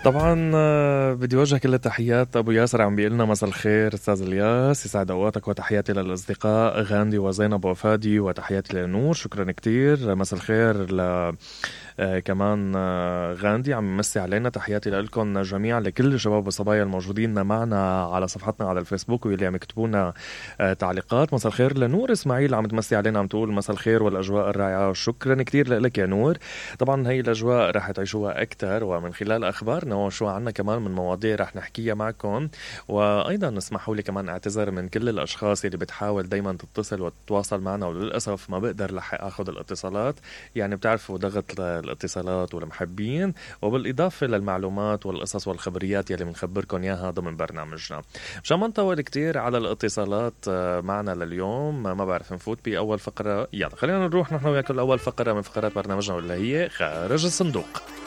طبعا بدي وجه كل التحيات. ابو ياسر عم بيقلنا مساء الخير استاذ الياس، يسعد اوقاتك، وتحياتي للاصدقاء غاندي وزينب وفادي، وتحياتي لنور. شكرا كتير. مساء الخير ل كمان غاندي عم يمسي علينا. تحياتي لكم جميعا، لكل الشباب والصبايا الموجودين معنا على صفحتنا على الفيسبوك واللي عم يكتبونا تعليقات. مساء الخير لنور اسماعيل عم تمسي علينا، عم تقول مساء الخير والاجواء الرائعه. شكرا كتير لك يا نور. طبعا هي الاجواء رح تعيشوها اكثر ومن خلال اخبارنا، وشو عنا كمان من مواضيع رح نحكيها معكم. وايضا اسمحوا لي كمان اعتذر من كل الاشخاص اللي بتحاول دايما تتصل وتتواصل معنا، وللاسف ما بقدر لحق اخذ الاتصالات. يعني بتعرفوا ضغط الاتصالات والمحبين، وبالاضافه للمعلومات والقصص والخبريات يلي بنخبركم اياها ضمن برنامجنا. مشان ما نطول كتير على الاتصالات معنا لليوم، ما بعرف نفوت باول فقره. يلا خلينا نروح نحن وياكم اول فقره من فقرات برنامجنا، واللي هي خارج الصندوق.